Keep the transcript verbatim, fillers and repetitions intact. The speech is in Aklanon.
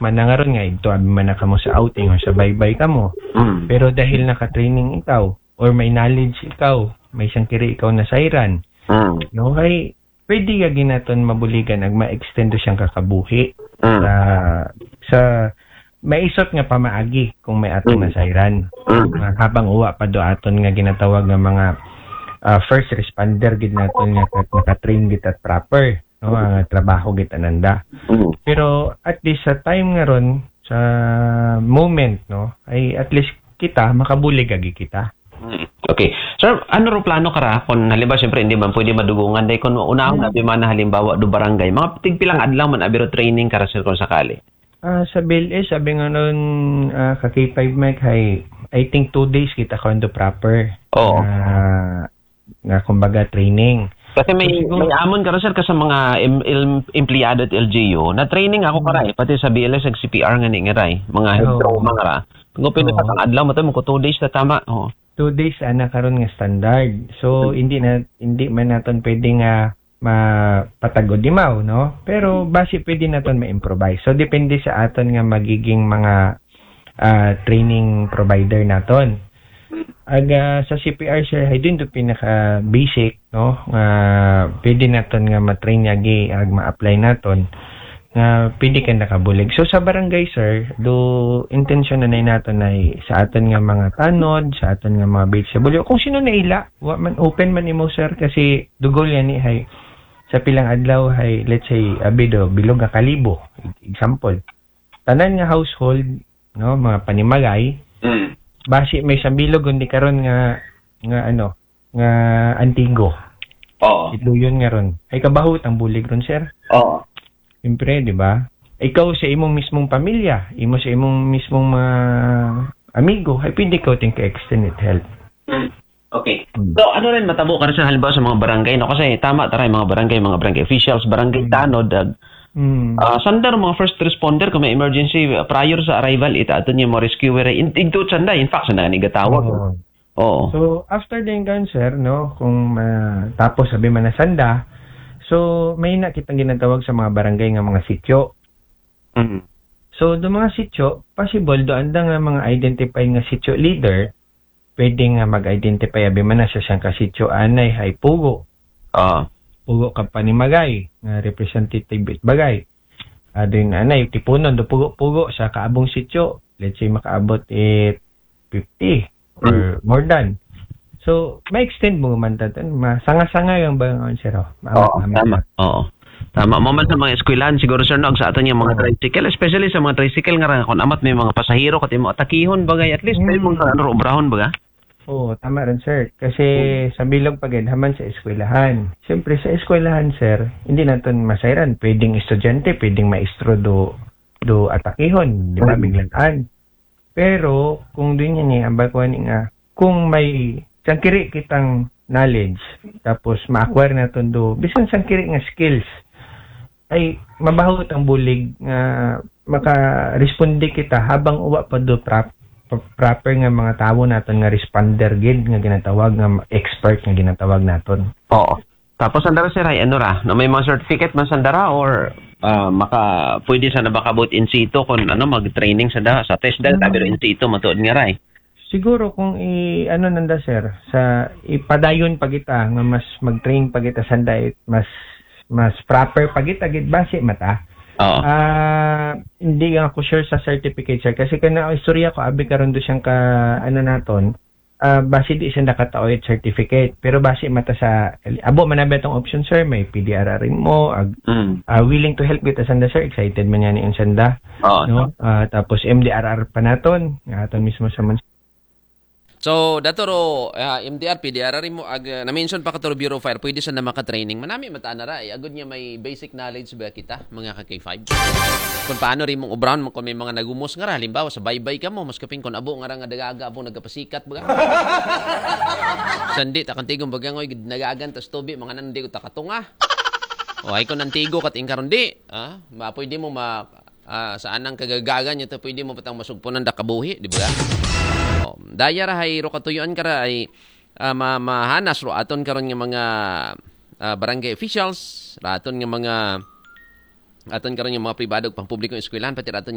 man na nga ron nga, ito abi man na kamo sa outing o sa baybay kamo. Mm. Pero dahil naka-training ikaw, or may knowledge ikaw, may sangkiri ikaw nasayran, Mm. no, kay pwede ka ginaton mabuligan ag ma-extend do siyang kakabuhi Mm. sa, sa maisot nga pamaagi kung may aton Mm. nasayran. Mm. Nga habang uwa pa do aton nga ginatawag nga mga, ah, first responder gid naton nga kat-, naka-train gid at proper, no, nga trabaho gid ananda. Mm. Pero at least sa time nga ron, sa moment, no, ay at least kita, makabulig agi kita. Mm. Okay. Sir, ano ro plano kara? Kung halimbawa, siyempre, hindi man pwede madugungan. Dahil kung unahon Mm. abi man na halimbawa, do barangay, mga tigpilang adlaw man abi ro training kara, sir, kung sakali? Ah, sa B L S, sabi nga nun, ah, ka K five Mike, hay, I think two days kita ka do proper. Oo. Ah, nga kumbaga training. Kasi may, So, siguro may amon kara, sir, ka sa mga em-, em-, empleyado at L G U, na training ako Hmm. kara eh, pati sa B L S ag C P R nga ni nga ray, mga head Oo. trauma nga ra. Kung pwede Oo. sa kang adlaw mo to, mo ko two days na tama. Oo. Two days ana karon nga standard. So, Hmm. hindi na, hindi man naton pwede nga mapatagod imaw, no? Pero basi pwede naton ma-improvise. So, depende sa aton nga magiging mga, ah, training provider naton. Ag, ah, sa C P R, sir, hay din do pinaka basic, no? Nga pwede naton nga ma-train yagi ag ma-apply naton nga pwede ka nakabulig. So, sa barangay, sir, do intensyon na nay naton ay sa aton nga mga tanod, sa aton nga mga B H W, kung sino na ila, wa man, open man imo, sir, kasi dugol yan ni hay sa pilang adlaw hay, let's say, abi do, bilog nga kalibo, example. Tanan nga household, no, mga panimagay, Mm. basi may sambilog, kundi karon nga, nga ano, nga antigo. Oo. Itluyon nga ron. Ay kabaho tang bulig ron, sir. Oo. Siyempre, di ba? Ikaw sa imong mismong pamilya, imo sa imong mismong mga amigo, ay pwede ka ting ka-extend it help. Mm. Okay. Hmm. So, ano rin matabo kara, sir, halimbawa sa mga barangay, no? Kasi tama taray, mga barangay, mga barangay officials, barangay Hmm. tanod, ag, Hmm. ah, sanda ro mga first responder, kung may emergency, ah, prior sa arrival, ita aton yung mga rescuer, in, igto sanda, in fact, sanda nga ni gatawag. Oo. Oo. So, after din kan, sir, no, kung, ah, tapos sabi man na sanda, so, may na kitang ginatawag sa mga barangay nga mga sityo. Mm. So, do mga sityo, possible, do anda nga mga identified nga sityo leader, pwede nga mag-identify, abi man na sa siyang kasityo, anay, hay pugo. Ah. Pugo ka panimagay, nga representative it bagay. Adin, anay, tipunon, do pugo-pugo, sa kaabong sityo, let's say, makaabot it fifty or Mm. more than. So, ma-extend mo man tatan, masanga-sanga yung ba nga, sir, oh? Maabot Oo, namin tama. na. Oo. Tama. Mo man sa mga eskwelahan, siguro, sir, no, sa aton yung mga Oo. tricycle, especially sa mga tricycle nga ra, kung amat may mga pasahero, kati mo atakihon, bagay, at least, may Mm. mga ano, obrahon, baga? Oo, tama rin, sir. Kasi Mm. sa bilog pa gid, haman sa eskwelahan. Siyempre, sa eskwelahan, sir, hindi naton masayran. Pwedeng estudyante, pwedeng maestro do, do atakihon, di ba? Mm. Biglaan. Pero, kung doon yan eh, ang bakuan nga, kung may sangkiri kitang knowledge, tapos ma-acquire naton do, bisan sangkiri nga skills, ay mabaho tang bulig nga makaresponde kita habang uwa pa do prop-, proper nga mga tawo naton nga responder gid nga ginatawag nga expert nga ginatawag naton. Oo. Tapos, andara, sir, ay ano ra, no, may mga certificate man sandara or, ah, maka-, pwede sa nabakabot in situ kung ano, mag-training sanda sa TESDA, Mm. tabi ro in situ, matuod nga ra, eh. Siguro kung i-, ano nanda, sir, sa ipadayon pa kita, nga mas mag-train pa kita sanda, it mas, mas proper pa kita, gid basi mata. Oo. Ah, hindi nga ako sure sa certificate, sir, kasi kana ang istorya ko, abi karon do siyang ka, ano naton, ah, basi di siya nakataoy certificate. Pero basi mata sa, abo man abi atong option, sir, may P D R R mo, ag-, Mm. ah, willing to help kita sanda, sir, excited man yan yung sanda. Oo. No? Ah, tapos M D R R pa naton, nga aton mismo sa man. So, dato ro, ah, M D R, P D R R mo, ag, ah, na-mention pa kato ro Bureau of Fire, pwede sa na maka-training. Manami mata na ra, eh. Agud niya may basic knowledge ba kita, mga ka K five? Kung paano rin mong obrahon mo kung may mga nagumos nga ra, halimbawa, sa baybay kamo, mas kaping kung abo nga ra nga dagaga, abo nagapasikat, baga? Sandi, takantigong bagangoy, nagagan, tas tubi, mga nandi ko takatunga. O, ay ko nantigo, kat ingkaron di, ah, ma-, pwede mo ma-, ah, sa anang kagagagan nyo to, pwede mo patang masugpunan da kabuhi, di ba? O, daya ra hay ro katuyuan kara ay, ah, ma-, mahanas ro aton karon nga mga, ah, barangay officials, ra aton nga mga, aton karon nga mga pribado pang publikong eskwelahan, pati ra aton